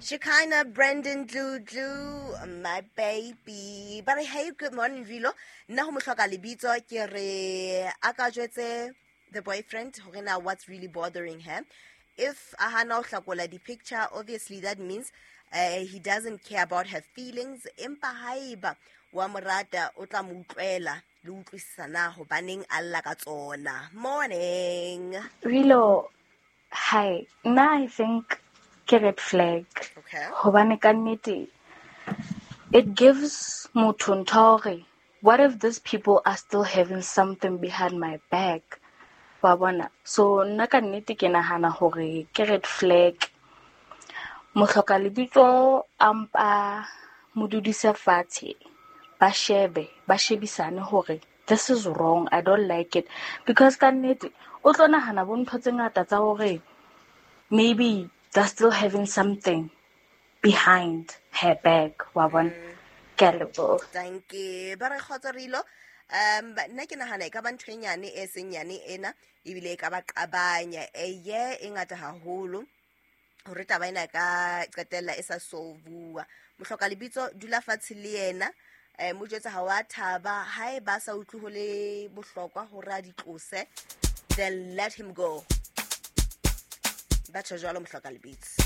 Shekinah Brandon Dludlu, my baby. Ba re, hey, good morning, Rilo. Nna ho mohloka lebitso ke re a ka jwetse the boyfriend hore na what's really bothering her. If a hana ho hlakola di-picture, obviously that means he doesn't care about her feelings. Empa haeba wa mo rata, o tla mo utlwela le utlwisisa na hobaneng a lla ka tsona. Morning. Rilo, hi. Nna I think ke red flag. Okay. Hobane ka nnete, it gives motho ntho ya hore, what if these people are still having something behind my back? Wa bona? So nna ka nnete ke nahana hore ke red flag. Mohloka lebitso a mpa mo dudise fatshe, ba shebe, ba shebisane hore this is wrong, I don't like it. Because ka nnete, o tlo nahana bo ntho tse ngata tsa hore maybe they're still having something behind her back, wa bona? Ke a leboha. Thank you. Ba re kgotso Rilo. Nna ke nahana e ka ba ntho e nyane e seng nyane ena, ebile e ka ba qabanya. Eye e ngata haholo hore taba ena e ka qetella e sa solvuwa. Mohloka lebitso dula fatshe le yena, mo jwetse ha wa thaba, haeba a sa utlwe ho le bohlokwa hore a di tlose, then let him go. Ba tjho jwalo mohloka lebitso.